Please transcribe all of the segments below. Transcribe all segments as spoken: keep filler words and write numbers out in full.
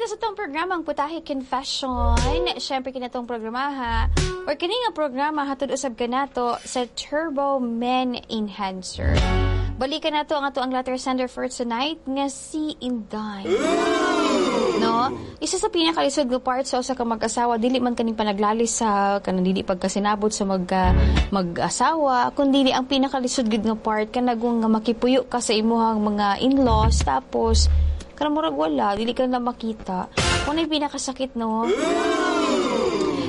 kita sa atong programa ang Putahe Confession. Syempre kini atong programa ha. Or kini nga programa hatod usab kanato sa Turbo Men Enhancer. Balikan nato ang ato ang letter sender for tonight nga si Inday. No? Isa sa pinakalisod nga part sa usa ka mag-asawa dili man kaning panaglalis sa kanang dili pagkasinabot sa mag mag-asawa kundi ang pinakalisod gid nga part kanagong nga makipuyo ka sa imuhang mga in-laws tapos kanang murag wala dili ka na makita. Mao na pinakasakit no.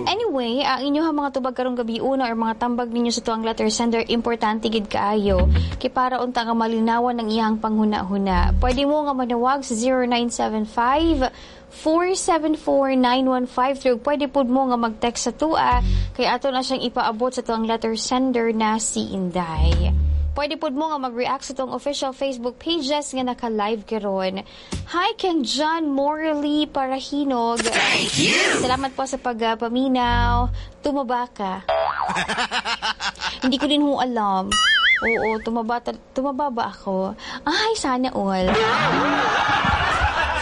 Anyway, ang inyong mga tubag karong gabi una or mga tambag ninyo sa tuang letter sender, importante gid kaayo kay para unta nga malinawan ang iyang panghuna-huna. Pwede mo nga manawag sa zero nine seven five four seven four, nine one five three. Pwede pud mo nga mag-text sa tua kay ato na siyang ipaabot sa tuang letter sender na si Inday. Pwede pud mo nga mag-react sa atong official Facebook pages nga naka-live karon. Hi kang John Morley Parahinog. Thank you. Salamat po sa pagpaminaw. Tumaba ka. Hindi ko din ho alam. Oo, tumaba, tumaba ba ako? Ay, sana all.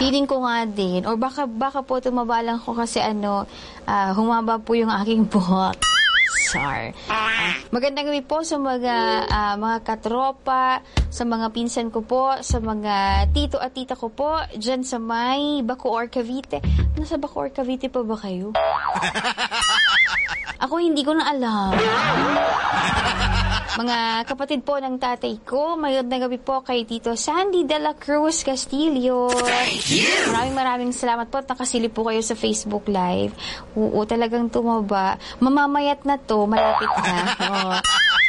Feeling ko nga din. Or baka, baka po tumaba lang ko kasi ano, uh, humaba po yung aking buhok. Sar. Uh, magandang gabi po sa mga uh, mga katropa, sa mga pinsan ko po, sa mga tito at tita ko po, dyan sa may Bacoor, Cavite. Nasa Bacoor, Cavite pa ba kayo? Ako hindi ko na alam. Mga kapatid po ng tatay ko, magandang gabi po kay Tito Sandy de la Cruz Castillo. Thank you. Maraming maraming salamat po at nakasilip po kayo sa Facebook Live. Oo, talagang tumaba. Mamamayat na to, malapit na. Oo.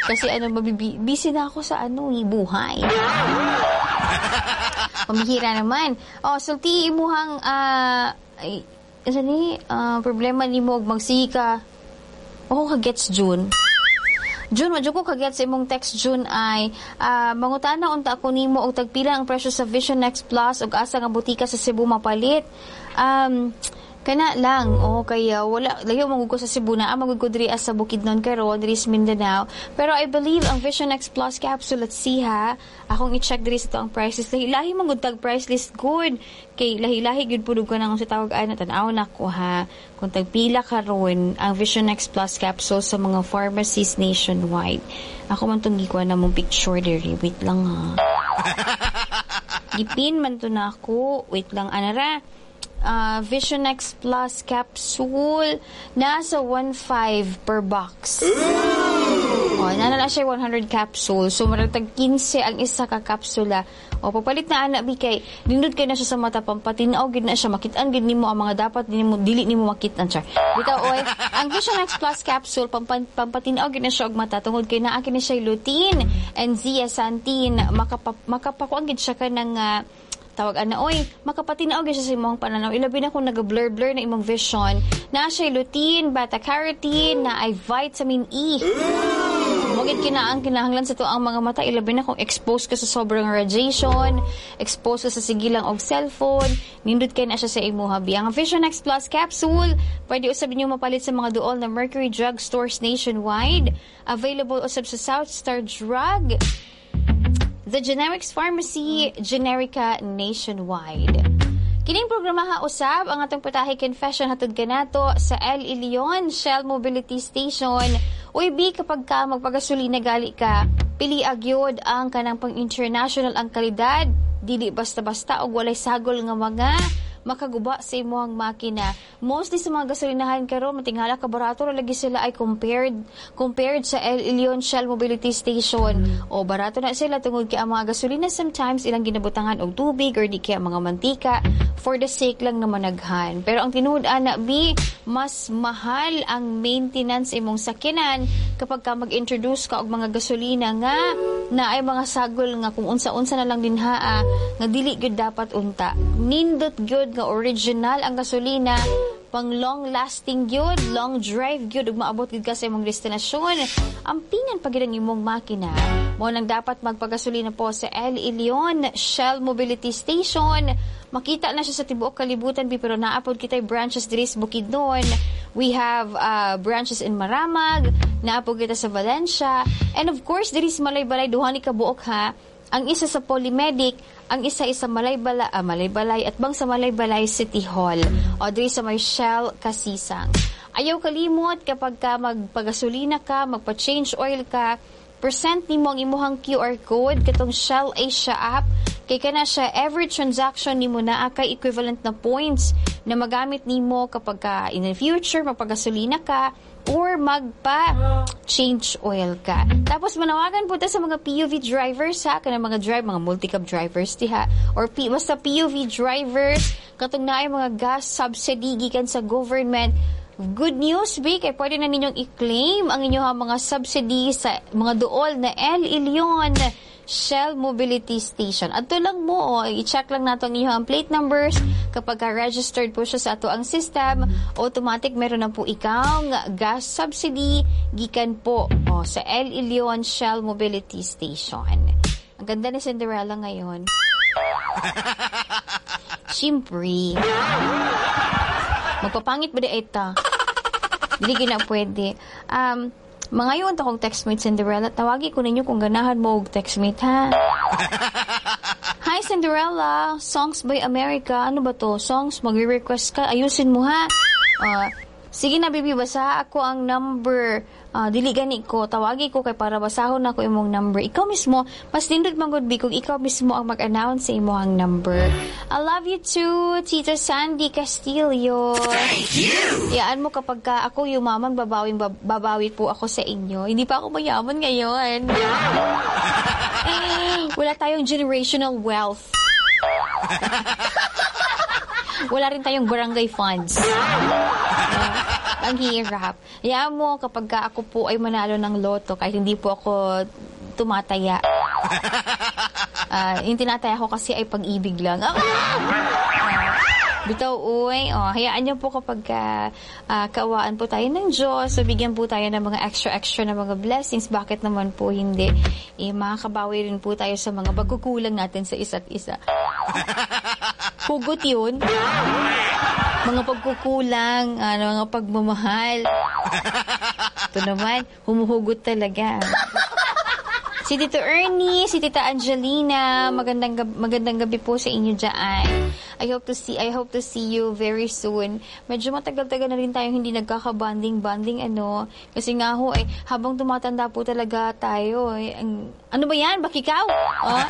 Kasi ano, mabibi- busy na ako sa ano, eh, buhay. Pambihira naman. Oh, sulti imuhang ah ay, ano ni, ah, problema nimo og magsika. Ako ka-gets June. June, wa ko ka-gets imong text June ay uh, mangutana unta ako nimo og tagpila ang presyo sa Vision X Plus ug asa nga butika sa Cebu mapalit. Um, kana lang oh kaya wala layo man ko sa Cebu na man ko diri sa Bukidnon karon diri sa Mindanao, pero I believe ang Vision X Plus capsule, let's see ha, akong i-check diri sa ang price list. Lahi-lahi man gud tag price list good kay lahi-lahi gyud pud ko nang sa tawag ay na tan-aw nako ha kung tagpila karon ang Vision X Plus capsule sa mga pharmacies nationwide. Ako man tong gikuha na mong picture diri, wait lang ha, gipin man to na ako, wait lang anara. uh, Vision X Plus capsule nasa one point five per box. Oh, nana na siya one hundred capsule. So murag tag fifteen ang isa ka kapsula. O pagpalit na ana bi kay nindot kay na siya sa mata, pampatinaw gid na siya, makit-an gid nimo ang mga dapat nimo dili nimo makit-an char. Bitaw oy, ang Vision X Plus capsule pampan, pampatinaw gid na siya og mata tungod kay naa kini siya lutein and zeaxanthin, makapa, makapakuan gid siya kanang uh, tawag ana oy, makapatinaw gyud siya sa imong pananaw ilabi na kung naga-blur blur na imong vision. Na siya lutein, beta carotene, na ay vitamin E. Mao gid kina ang kinahanglan sa ang mga mata ilabi na kung exposed ka sa sobrang radiation, exposed ka sa sige lang og cellphone, nindot kay na siya sa imuha bi. Ang Vision X Plus capsule, pwede usab ninyo mapalit sa mga duol na Mercury Drug stores nationwide. Available usab sa South Star Drug, The Generics Pharmacy, Generica nationwide. Kining programa ha usab ang atong Putahe Confession hatod kanato sa El Ilion Shell Mobility Station. Uy bi, kapag ka magpagasolina gali ka, pili agyod ang kanang pang international ang kalidad, dili basta-basta og walay sagol nga mga makaguba sa imong makina. Mostly sa mga gasolinahan karon matingala ka barato ra lagi sila ay compared compared sa El Ilion Shell Mobility Station. O barato na sila tungod kay ang mga gasolina sometimes ilang ginabutangan og tubig or di kaya mga mantika for the sake lang na managhan. Pero ang tinuod ana bi, mas mahal ang maintenance imong sakyanan kapag ka mag-introduce ka og mga gasolina nga na ay mga sagol nga kung unsa-unsa na lang din haa nga dili gyud dapat unta. Nindot gyud nga original ang gasolina, pang long lasting gyud, long drive gyud ug maabot gyud ka sa imong destinasyon. Ampingan pa gyud ang imong makina. Mo nang dapat magpagasolina po sa El Ilion Shell Mobility Station. Makita na siya sa tibuok kalibutan bi, pero naa pod kitay branches diri sa Bukidnon. We have uh, branches in Maramag, naa pod kita sa Valencia, and of course diri sa Malaybalay, duha ni ka buok ha. Ang isa sa Polymedic, ang isa isa Malaybalay, ah, Malaybalay at bang sa Malaybalay City Hall o diri sa may Shell Kasisang. Ayaw kalimot kapag ka magpagasolina ka, magpa-change oil ka, present nimo ang imuhang Q R code katong Shell Asia app kay kana siya, every transaction nimo naa kay equivalent na points na magamit nimo kapag ka in the future magpagasolina ka or magpa change oil ka. Tapos manawagan po ta sa mga P U V drivers ha, kanang mga drive, mga multicab drivers diha or P, basta P U V drivers katong naay mga gas subsidy gikan sa government. Good news, B, kay pwede na ninyong i-claim ang inyong mga subsidy sa mga duol na El Ilion Shell Mobility Station. Adto lang mo, oh, i-check lang nato ang inyong plate numbers. Kapag ka registered po siya sa ato ang system, automatic meron na po ikaw gas subsidy gikan po, oh, sa El Ilion Shell Mobility Station. Ang ganda ni Cinderella ngayon. Siyempre. Magpapangit ba di ita? Dili na pwede. Um, mangayon ta kong textmate, Cinderella. Tawagi ko ninyo kung ganahan mo og textmate, ha. Hi, Cinderella, Songs by America. Ano ba to? Songs, magre-request ka. Ayusin mo ha. Uh, sige na, baby, basa ako ang number. Uh, dili gani ko, tawagi ko kay para basahon nako imong number. Ikaw mismo, mas nindot man gud bi kung ikaw mismo ang mag-announce sa imong number. I love you too, Tita Sandy Castillo. Thank you. Iyaan mo kapag ka ako yumaman, babawing, babawi po ako sa inyo. Hindi pa ako mayaman ngayon. Wala tayong generational wealth. Wala rin tayong barangay funds. Uh, ang hirap. Hayaan mo kapag ka ako po ay manalo ng loto, kahit hindi po ako tumataya. Uh, yung tinataya ko kasi ay pag-ibig lang. Ah! Bitaw, uy. Oh, hayaan niyo po kapag ka, uh, kaawaan po tayo ng Diyos, so bigyan po tayo ng mga extra-extra na mga blessings. Bakit naman po hindi? Eh, makakabawi rin po tayo sa mga pagkukulang natin sa isa't isa. Hugot yun. Mga pagkukulang, ano, mga pagmamahal. Ito naman, humuhugot talaga. Si Tito Ernie, si Tita Angelina, magandang gab- magandang gabi po sa inyo diyan. I hope to see I hope to see you very soon. Medyo matagal-tagal na rin tayong hindi nagkaka-bonding-bonding, ano, kasi nga ho eh habang tumatanda po talaga tayo eh, ang, ano ba yan? Bakikaw? Oh?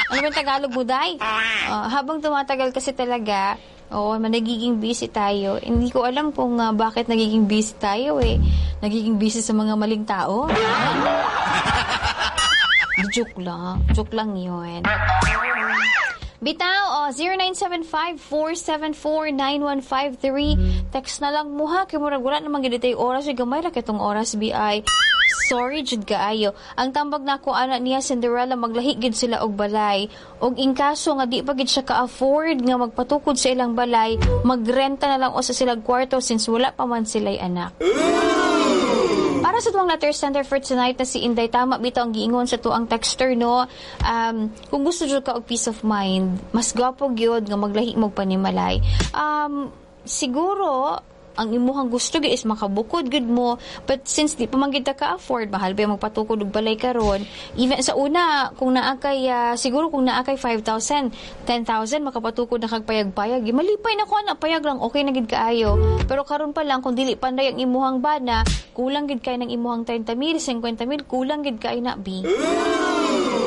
Ano ba yung Tagalog mo, day? Oh, habang tumatagal kasi talaga, oo, nagiging busy tayo. Hindi ko alam kung uh, bakit nagiging busy tayo eh. Nagiging busy sa mga maling tao. Joke lang. Joke lang yun. Bitaw, oh, zero nine seven five, four seven four, nine one five three. Text na lang mo ha. Kay murag wala naman gid tay oras. Gamay ra kitong oras, B I. Sorry jud kaayo. Ang tambag nako ana niya, Cinderella, maglahi gid sila og balay. Og in kaso nga di pa gid siya ka-afford nga magpatukod sa ilang balay, magrenta na lang usa sila kwarto since wala pa man sila'y anak. Para sa tuwang letter sender for tonight na si Inday, tama bitaw ang giingon sa tuang texter, no. Um, kung gusto jud ka og peace of mind, mas gwapo gyud nga maglahi mo panimalay. Um, siguro ang imuhang gusto gyud is makabukod gud mo, but since di pa man gid ta ka-afford, mahal ba magpatukod og balay karon? Even sa una, kung naa kay uh, siguro kung naa kay five thousand, ten thousand, makapatukod na kag payag-payag, malipay na ko na payag lang, okay na gid kaayo. Pero karon pa lang, kung dili panday ang imuhang bana, kulang gid kay ng imuhang thirty mil, fifty mil, kulang gid kay na bi,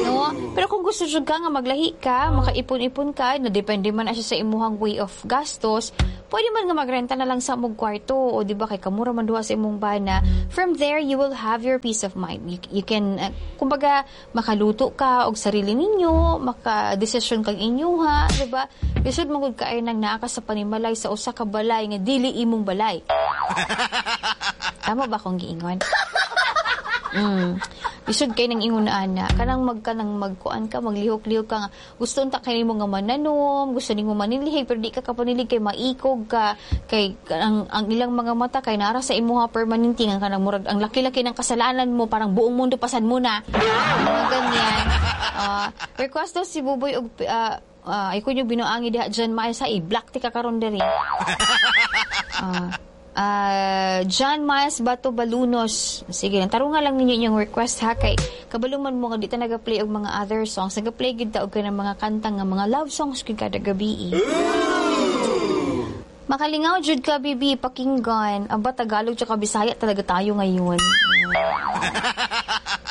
no? Pero kung gusto jud ka nga maglahi ka, makaipon-ipon ka, na depende man na siya sa imuhang way of gastos, pwede man nga magrenta na lang sa mong kwarto o di ba kay kamura man duha sa imong bana. From there, you will have your peace of mind. You, you can, uh, kumbaga, makaluto ka og sarili ninyo, maka-desisyon kag inyuha, di ba? Lisod man gud kaayo nang naa ka sa panimalay sa usa ka balay nga dili imong balay. Tama ba akong giingon? Mm. Lisod kay nang ingon ana, kanang magka nang magkuan ka, maglihok-lihok ka nga gusto unta kay nimo nga mananom, gusto nimo manilhig pero di ka kapanilig kay maikog ka, kay ang, ang ilang mga mata kay nara sa imuha permanente nga kanang murag ang laki-laki ng kasalanan mo, parang buong mundo pasan mo na. Mga ganyan. Uh, request daw si Buboy og uh, uh, ay kunyo binuangi diha dyan maay sa i-black ti ka karon diri. Uh, Ah, John Miles Bato Balunos. Sige, tarunga lang ninyo inyong request ha, kay kabalo man mo nga di ta naga-play og mga other songs. Naga-play gid ta og kanang mga kanta nga mga love songs gid kada gabi. Makalingaw jud ka, bibi, pakinggan. Aba, Tagalog tsaka Bisaya talaga tayo ngayon.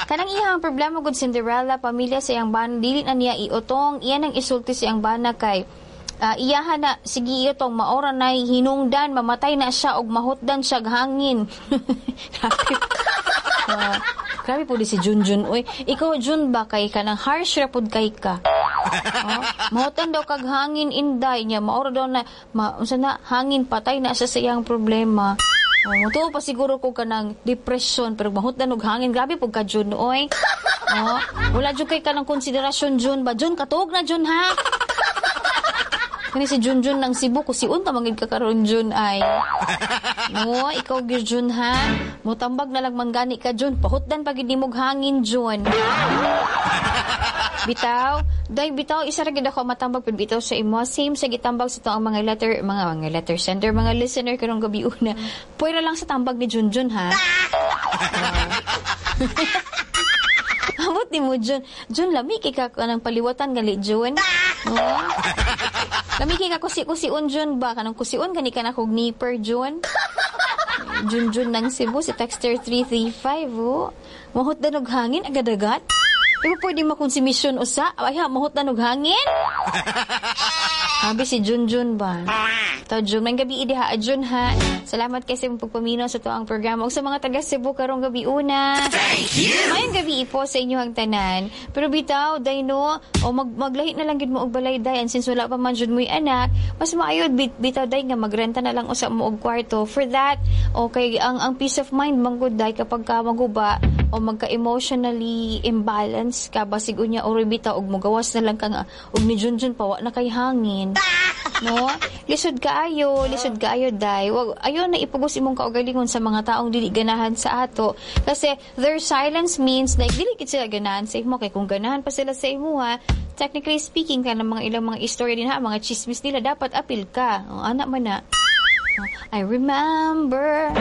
Kanang iyang problema gud, Cinderella, pamilya sa iyang bana, dili na niya iutong, iyan ang isulti sa iyang bana kay uh, iyahan na sige iutong, maora na hinungdan, mamatay na siya og mahutdan siya og hangin. Grabe. Uh, grabe po di si Junjun. Uy, ikaw, Jun, ba kay kanang harsh ra pud kay ka. Oh, mahutan daw kag hangin, inday niya, maora daw na ma, unsa na hangin, patay na siya sa iyang problema. Oh, mutuo pa siguro ko kanang depression pero mahutdan og hangin, grabe pud ka, Jun, oy. Oh, wala jud kay kanang konsiderasyon, Jun ba? Jun, katuog na, Jun, ha. Kani si Junjun ng Cebu, kusiun ta mangid ka karon, Jun, ay. No, ikaw gyud, Jun, ha. Mutambag na lang manggani ka, Jun, pahutdan pa gid nimog hangin, Jun. Bitaw, day bitaw, isa ra gid ako matambag pud bitaw sa imo. Same sa gitambag sa ang mga letter mga mga letter sender, mga listener karong gabi una. Pwera lang sa tambag ni Junjun ha. Uh, Amot ni mo, Jun. Jun, lami kay ka kanang paliwatan gali, Jun. Oh. Lami kay ka kusi-kusion, Jun, ba, kanang kusion gani ka na kog nipper, Jun. Jun Jun ng Cebu, si Texter three three five, oh. Mahutdan og hangin agad-agad. Di ba pwede makonsumisyon usa? Ay ha, mahutdan og hangin? Sabi si Junjun ba? To Jun, may gabi diha, Jun, ha. Salamat kay sa imong pagpaminaw sa tuang programa ug sa mga taga Cebu karong gabi una. Thank you. Mayong gabi po sa inyo ang tanan. Pero bitaw, day no, o mag maglahi na lang gid mo og balay, day, and since wala pa man jud mo'y anak, mas maayo bit, bitaw, day, nga magrenta na lang usa mo og kwarto. For that, okay, ang ang peace of mind man gud, day, kapag ka maguba o magka-emotionally imbalance ka, basig unya or bitaw og mogawas na lang ka nga og ni Junjun pa wa na kay hangin. No? Lisod kaayo, lisod kaayo, day. Wag ayo na ipugos imong kaugalingon sa mga taong dili ganahan sa ato kasi their silence means like dili gid sila ganahan sa imo, kay kung ganahan pa sila sa imo ha, technically speaking, kanang mga ilang mga istorya din ha, mga chismis nila, dapat apil ka. Oh, ana man na. Oh, I remember.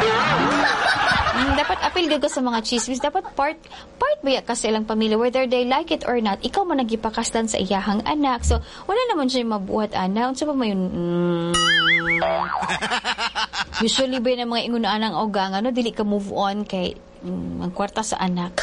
Mm, dapat apil gyud ka sa mga chismis. Dapat part part ba ka sa ilang pamilya whether they like it or not. Ikaw man nagipakaslan sa iyahang anak. So, wala naman siya mabuhat ana. Unsa pa man yun? Mm. Usually ba yung mga ingunaan ang ogang, ano, dili ka move on kay mm, ang kwarta sa anak.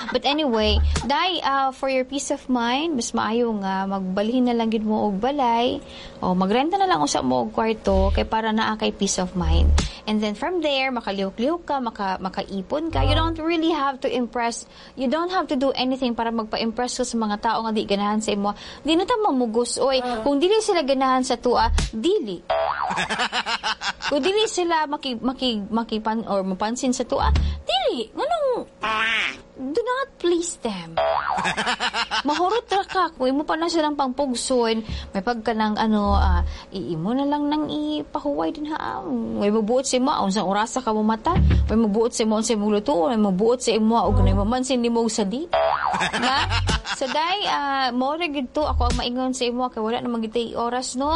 But anyway, day, uh, for your peace of mind, mas maayo nga magbalhin na lang gid mo og balay o magrenta na lang usa mo og kwarto kay para naa kay peace of mind. And then from there, makalihok-lihok ka, maka, makaipon ka. You don't really have to impress. You don't have to do anything para magpa-impress ka sa mga tao nga di ganahan sa imo. Di na ta mamugos, oy. Kung dili sila ganahan sa tua, dili. Kung dili sila maki, maki, makipan or mapansin sa tua, dili. Nganong do not please them. Mahurot ra ka kung imo pa na silang pangpugson, may pagka ng ano, ah, iimo na lang nang ipahuway din ha. May mabuot sa imo, unsang orasa ka mata, may mabuot sa imo unsay imong lutuon, may mabuot sa imo og nay mamansin nimo og sadi. Na? So day, uh, mo ra gid to ako ang maingon sa imo kay wala na gid oras no.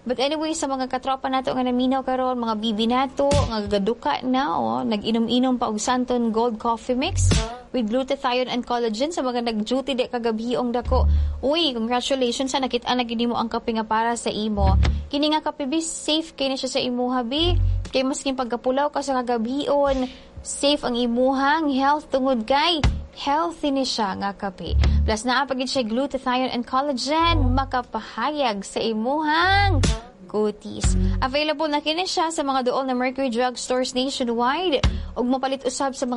But anyway, sa mga katropa nato nga naminaw karon, mga bibi nato nga gaduka na, oh, nag-inom-inom pa og Santon Gold Coffee Mix with glutathione and collagen, sa mga nag-duty di kagabhiong dako. Uy, congratulations sa nakita na gid mo ang kape nga para sa imo. Kini nga kape bi, safe kay na siya sa imuha bi. Kay maskin pagkapulaw ka sa kagabhion, safe ang imuhang health tungod kay healthy ni siya nga kape. Plus naa pa gid siya glutathione and collagen, makapahayag sa imuhang kutis. Available na kini siya sa mga duol na Mercury Drug Stores nationwide ug mapalit usab sa mga